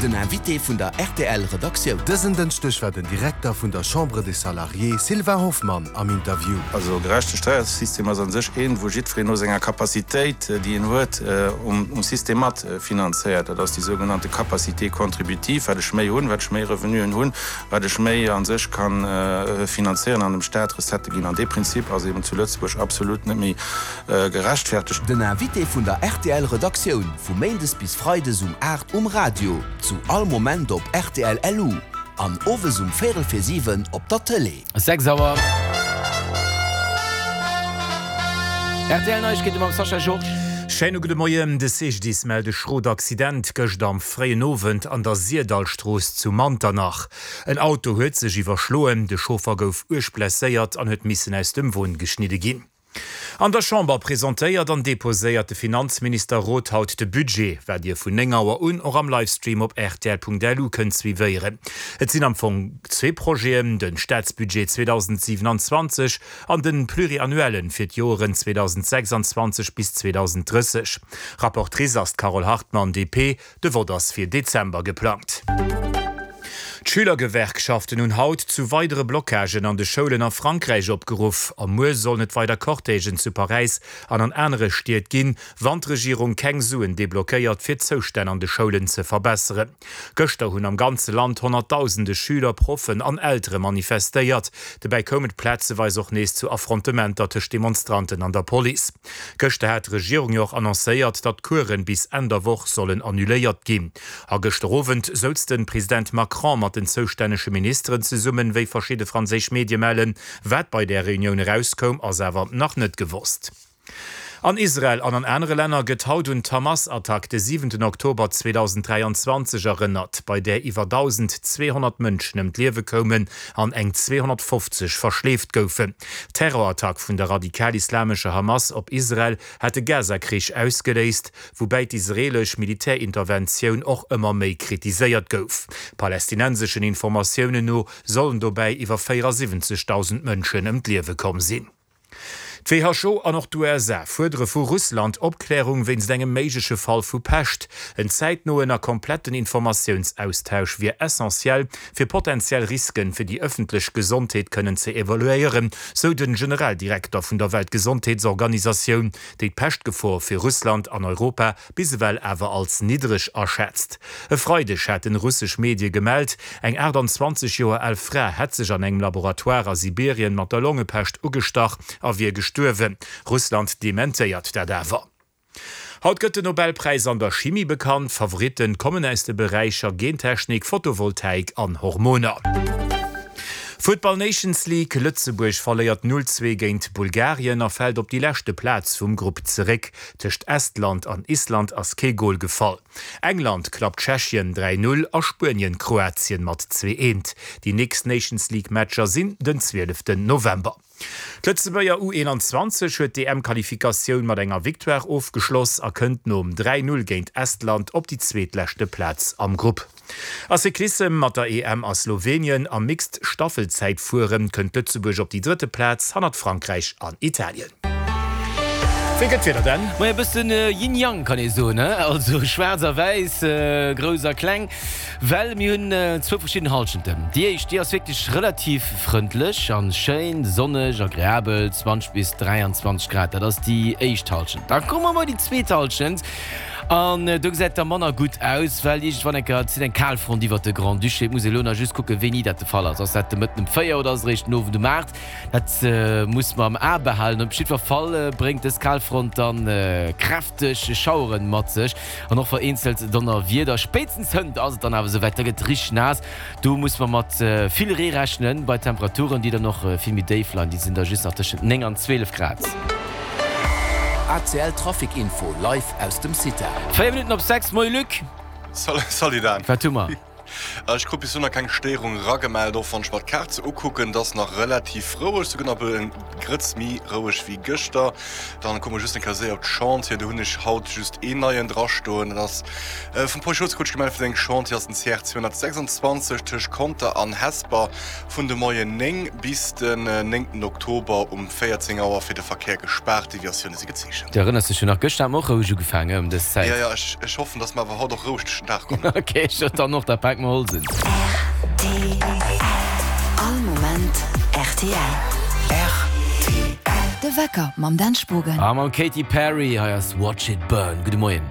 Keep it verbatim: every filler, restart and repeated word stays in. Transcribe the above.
Den Invité vun der rtl Redaktioun. Dësen Dënschdeg war den Direkter vun der Chambre des Salariés Sylvain Hoffmann am Interview. Also e gerechte Steiersystem ass a sech een, wou jiddwereen no senger Capacitéit, déi en huet, um System mat finanzéiert. Dat ass déi sougenannte Capacité contributive. Wat ech méi hunn, wat ech méi Revenuen hunn, wat ech méi a sech ka finanzéieren an dem Staat Recettë ginn. An dee Prinzip ass eben zu Lëtzebuerg absolut net méi gerechtfertegt. Den Invité vun der rtl Redaktioun vu méindes bis freides um aacht um Radio, zu all Moment op rtl LU an owes um véierel vir siwen op der Tëlee. Sechs Auer. Rtl Neiegkeete mam Sascha Georges. Schéine gudde Moien. De C G D I S mellt e schrot Accident gëscht am fréien Owend an der Sirdallstrooss zu Manternach. En Auto huet sech iwwerschloen, de Chauffer gouf uerg blesséiert an huet missen aus dem Won geschnidde ginn. An der Chamber presentéiert an deposéiert de Finanzminister Roth haut de Budget, wat Dir vun néng Auer un och am Livestream op rtl Punkt L U kënnt suivéieren. Et sinn am Fong zwee Projeten, de Staatsbudget zweedausendsiwenanzwanzeg an de Pluriannuellen fir d'Joeren zweedausendsechsanzwanzeg bis zweedausendrësseg. Rapportrice ass d'Carole Hartmann, D P. De Vott ass fir Dezember geplangt. D'Schülergewerkschaften hunn haut zu weidere Blockagen an de Schoulen a Frankräich opgeruff. A muer sollen et weider Cortègen zu Paräis an an anere Stied ginn, wann d'Regierung keng Suen deblockéiert, fir d'Zoustänn an de Schoulen ze verbesseren. Gëschter hunn am ganze Land honnertdausende Schüler, Proffen an Eltere manifestéiert. Dobäi koum et plazeweis och nees zu Affrontementer tëscht Demonstranten an der Police. Gëschter hat d'Regierung jo och annoncéiert, datt d'Coursen bis Enn der Woch sollen annuléiert ginn. A gëschter Owend souz de President Macron mat den zoustännege Ministeren zesummen, wéi verschidde franséisch Medie mellen. Wat bei där Reunioun erauskoum, ass awer nach net gewosst. An Israel an an anere Länner gëtt haut un d'Hamas-Attack de siwenten Oktober zweedausenddräianzwanzeg erënnert, bei där iwwer dausendzweehonnert Mënschen ëm d'Liewe koumen an eng zweehonnertfofzeg verschleeft goufen. D'Terrorattack vun der radikal-islamescher Hamas op Israel hat de Gaza-Krich ausgeléist, woubäi d'israeelesch Militärinterventioun och ëmmer méi kritiséiert gouf. Palästinenseschen Informatiounen no sollen dobäi iwwer véierasiwwenzegdausend Mënschen ëm d'Liewe komm sinn. D'W H O an och d'U S A fuerdere vu Russland Opklärung wéinst engem méigleche Fall vu Pescht. En zäitnoen a kompletten Informatiounsaustausch wier essentiell, fir potentiell Risken fir déi ëffentlech Gesondheet kënnen ze evaluéieren, sou de Generaldirekter vun der Weltgesondheetsorganisatioun, déi d'Peschtgefor fir Russland an Europa bis ewell awer als niddreg aschätzt. E Freideg haten russesch Medie gemellt, eng aachtanzwanzeg Joer al Fra hätt sech an engem Laboratoire a Sibirien mat der Longepescht ugestach a wier gestuerwen. Russland dementéiert dat awer. Haut gëtt den Nobelpräis an der Chimie bekannt. Favoritte kommen aus de Beräicher Gentechnik, Photovoltaik an Hormoner. Futtball Nations League, Lëtzebuerg verléiert null zwee géint Bulgarien a fält op déi leschte Plaz vum Grupp zeréck. Tëscht Estland an Island ass kee Gol gefall. England klappt Tschechien dräi null a Spuenien Kroatien mat zwee eent. Déi nächst Nations League Matcher sinn den zwieleften November. D'Lëtzebuerger U eenanzwanzeg huet d'E M-Qualifikatioun mat enger Victoire ofgeschloss a kënnt nom dräi null géint Estland op déi zweetleschte Plaz am Grupp. A Cyclissem, Mat der E M a Slowenien am Mixed Staffelzäitfueren kënnt Lëtzebuerg op déi drëtte Plaz hannert Frankräich an Italien. Wéi gëtt d'Wieder denn? Majo, e bëssen Yin-Yang kann ee soen, he? Also schwaarz a wäiss, grouss a kleng, well mir hunn zwou verschidden Hallschenten. Déi éischt, déi ass wierklech relativ frëndlech an schéin, sonneg, agreabel, zwanzeg bis dräianzwanzeg Grad, dat ass déi éischt Hallschent. Da komme mer bei déi zweet Hallschent an do gesäit da manner gutt aus, well iergendwann eng Kéier zitt eng Kalfront iwwert de Grand-Duché. Et muss ee elo nach just kucken, wéini dat de Fall ass. Ass dat de Mëtten um véier oder ass et eréischt den Owend um aacht? Dat muss mer am A behalen. Op jiddwer Fall bréngt dës Kalfront dann kräfteg Schaueren mat sech an och vereenzelt Donnerwieder. Spéitstens hënt ass et dann awer esouwäit, da gëtt et richteg naass. Do muss mer mat vill Ree rechnen, bei Temperaturen, déi dann och vill méi déif leien, déi sinn da just nach tëschent néng an zwielef Grad. A C L Trafic Info live aus dem CITA. Véier Minutten op sechs. Moie Luc. Salut Dan. Wat hu mer? Ech krut bis elo nach keng Stéierung eragemellt, och wann ech mer d'Kaart sou ukucken, et ass nach relativ roueg, souguer nach e Grëtz méi roueg wéi gëschter. Dann kucke mer just eng Kéier séier op d'Chantier, do hunn ech haut just een neien drastoen, dat ass vum Paul Schultz krut ech gemellt fir seng Chantier ass den C R zweehonnertsechsundzwanzeg tëscht Conter an Hesper vun de Moien néng bis den néngten Oktober um véierzéng Auer fir de Verkéier gespaart. Deviatioune si gezeechent. Du erënners dech jo nach, gëschter hat mer och roueg ugefaangen ëm dës Zäit. Jo, jo, ech hoffen, dass mer awer haut och roueg duerch den Dag kommen. Ok, ech dann och, da pake mer Holz un. Rtl, All Moment rtl. Rtl. De Wecker mam Dan Spogen. A mam Katy Perry, hei ass Watch It Burn. Gudde Moien.